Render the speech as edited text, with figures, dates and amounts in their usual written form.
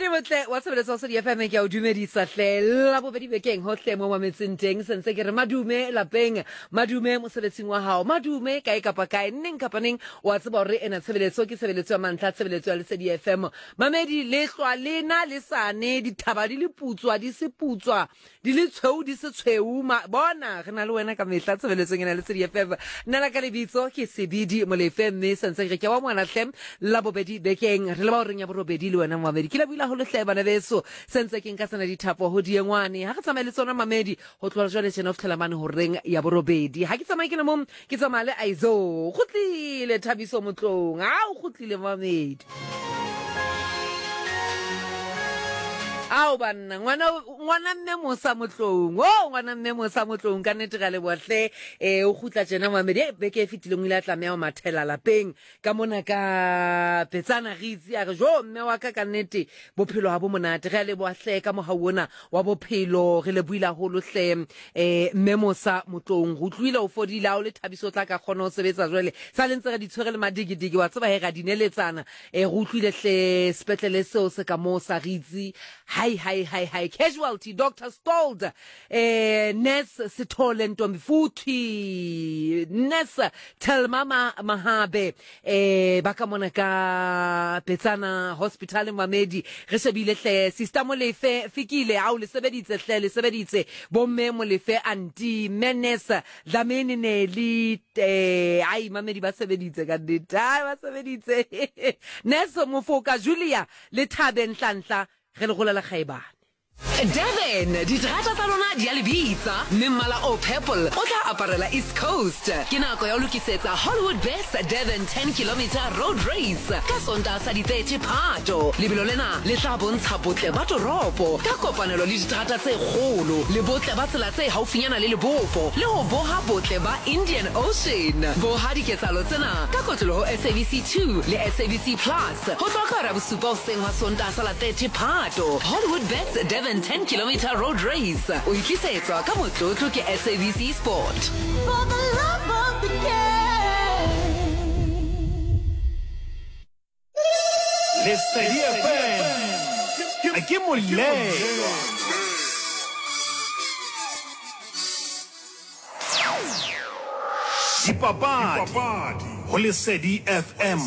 Mamedi motle wa tshebeletso wa Sodi FM ke a o dumedisa hle la bobedi bekeng hohle mo mametseng teng sentse ke re madume lapeng madume mosebetsing wa hao madume kae kapa kae neng kapa neng wa tseba hore ena tshebeletso ke tshebeletso ya mantlha tshebeletso ya Lesedi FM mamedi le hlwa le na le sane dithaba di le putswa di se putswa Di le tshweu di se tshweu ma bona re na le wena ka mehla tshebeletsong ena Lesedi FM. Nna la ka lebitso ke Sebidi Molefe mme sentse re ke wa ngwana hle la bobedi bekeng re leba horeng ya borobedi le wena momamedi. Ke lebohile haholo hle bana beso sentse ke nka tsena dithapo ho diengwane ha re tsamaye le tsona mamedi ho tloha jwale tjena ho fihlela mane horeng ya borobedi. Ha ke tsamaye ke le mong ke tsamaya le Aizo. Kgutlile Thabiso Motlong. Ha o kgutlile mamedi. Ao banna ngwana ngwana mme mosa motlong o ngwana mme mosa motlong ka nnete ga leboa hle um o kgutla tjena mamedi e beke e fetileng o ile a tlameha ho mathela lapeng ka mona ka petsana re itse a re jo mme wa ka ka nnete bophelo ha bo monate re a leboa hle ka mohau ona wa bophelo re lebohile haholo hle um mme mosa motlong re utlwile o fodile ha o le thabiso o tla ka kgona ho sebetsa jwale sa le ntse re di tshwere le madigidigi wa tseba he ra di neletsana E, re utlwile hle sepetlele seo se ka moo sa Ritsi. Hai, hai, hai, hai. Casualty, Doctor Stold, eh, Nurse Sithole Ntombi futhi, Nurse Thelma Ma Mahabe, eh, ba ka mona ka Petsana Hospital Mamedi. Re shebile hle Sister Molefe Fikile, ao le sebeditse hle, le sebeditse. Bomme Molefe Anti, Mme Nurse Dlamini Nelly eh ai mamedi ba sebeditse ka nnete ai ba sebeditse Nurse Mofoka Julia le Thabe Nhlanhla re le golela kgaebane. Durban, diterata tsa lona di a le bitsa, mme mmala o purple o tla aparela East Coast. Ke nako ya ho lokisetsa Hollywood Best Durban 10 Kilometre Road Race ka Sontaha sa di 30 Phato. Lebelo lena le tla bontsha botle ba toropo ka kopanelo le diterata tse kgolo le botle ba tsela tse haufinyana le lebopo le ho boha botle ba Indian Ocean. Boha diketsahalo tsena ka kotloloho ho SABC 2 le SABC Plus ho tloha ka hora ya bosupa hoseng hwa Sontaha sa la 30 Phato. Hollywood Bets Durban 10 Kilometre Road Race o e tlisetswa ka motlotlo ke SABC Sport. For the love of the game. Lesedi FM ke molelwa. Dipapadi go Lesedi FM.